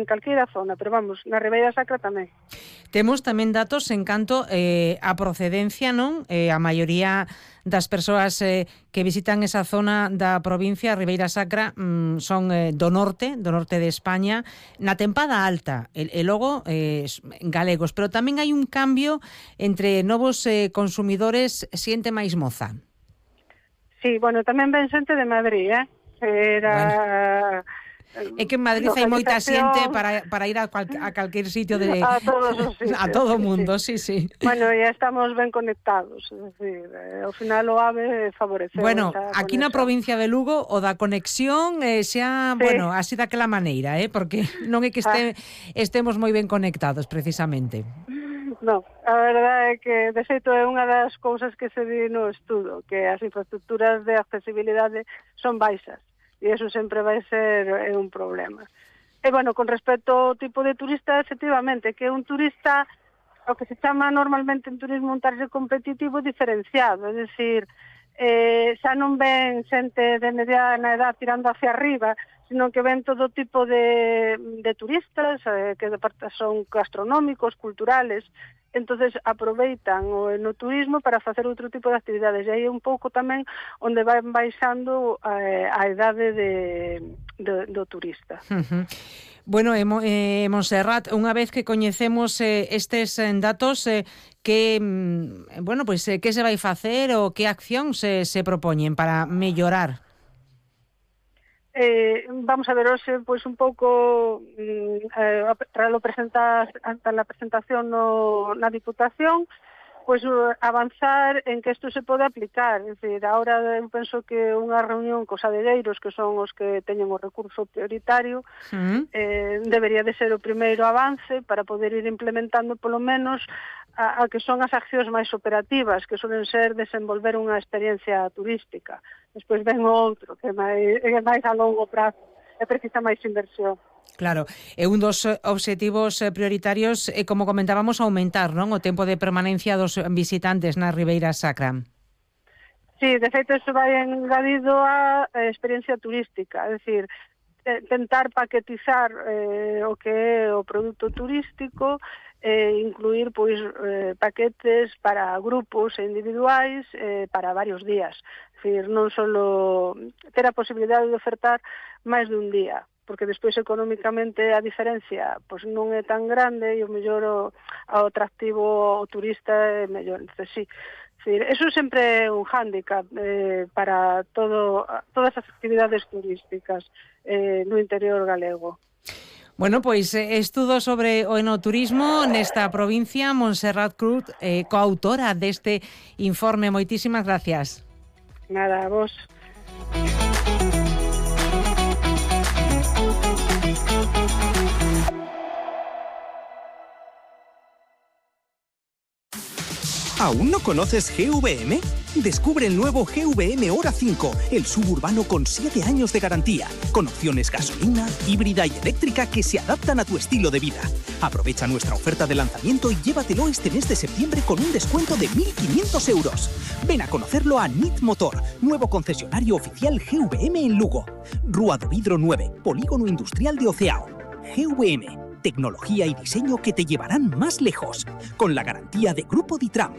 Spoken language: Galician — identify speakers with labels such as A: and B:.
A: en calquera zona, pero vamos, na Ribeira Sacra tamén.
B: Temos tamén datos en canto a procedencia, non? A maioría das persoas que visitan esa zona da provincia, Ribeira Sacra, son do norte de España, na tempada alta, e logo galegos, pero tamén hai un cambio entre novos consumidores, xente máis moza.
A: Sí, bueno, tamén ven xente de Madrid, Era... Bueno.
B: É que en Madrid hai moita xente para ir a calquer sitio
A: a todos os sitios,
B: a todo o mundo, sí.
A: Bueno, ya estamos ben conectados, é dicir, ao final o AVE favoreceu.
B: Bueno, aquí na provincia de Lugo o da conexión xa, bueno, así daquela maneira, porque non é que estemos moi ben conectados precisamente.
A: Non, a verdade é que de feito é unha das cousas que se di no estudo, que as infraestructuras de accesibilidade son baixas. E iso sempre vai ser un problema. E, bueno, con respecto ao tipo de turista, efectivamente, que é un turista, o que se chama normalmente en turismo un target competitivo diferenciado, é dicir, xa non ven xente de mediana edad tirando hacia arriba, sino que ven todo tipo de turistas, que son gastronómicos, culturales. Entonces aproveitan o enoturismo para facer outro tipo de actividades, e aí é un pouco tamén onde van baixando a idade do turista.
B: Bueno, Montserrat, unha vez que coñecemos estes datos, que se vai facer ou que accións se propoñen para mellorar?
A: Vamos a ver hoxe, pois un pouco tras a presentación na Diputación, pois avanzar en que isto se pode aplicar. É dicir, agora eu penso que unha reunión cos adegueiros, que son os que teñen o recurso prioritario, debería de ser o primeiro avance para poder ir implementando polo menos a que son as accións máis operativas, que suelen ser desenvolver unha experiencia turística. Despois ven o outro, que é máis a longo prazo, e precisa máis inversión.
B: Claro, e un dos obxectivos prioritarios é, como comentábamos, aumentar, non, o tempo de permanencia dos visitantes na Ribeira Sacra.
A: Sí, de feito, iso vai engadido a experiencia turística, é dicir, tentar paquetizar o que é o produto turístico, incluir pois paquetes para grupos e individuais para varios días. É dicir, non só ter a posibilidade de ofertar máis de un día, porque despois económicamente a diferencia pois non é tan grande e o mellor o atractivo ao turista é mellor. Entonces, sí, eso sempre é un hándicap para todas as actividades turísticas no interior galego.
B: Bueno, pois estudo sobre o enoturismo nesta provincia. Montserrat Cruz, coautora deste informe. Moitísimas gracias.
A: Nada, a vos.
C: ¿Aún no conoces GVM? Descubre el nuevo GVM Hora 5, el suburbano con 7 años de garantía, con opciones gasolina, híbrida y eléctrica que se adaptan a tu estilo de vida. Aprovecha nuestra oferta de lanzamiento y llévatelo este mes de septiembre con un descuento de 1.500 euros. Ven a conocerlo a NIT Motor, nuevo concesionario oficial GVM en Lugo. Rúa do Vidro 9, Polígono Industrial de Oceao. GVM, tecnología y diseño que te llevarán más lejos, con la garantía de Grupo Ditram.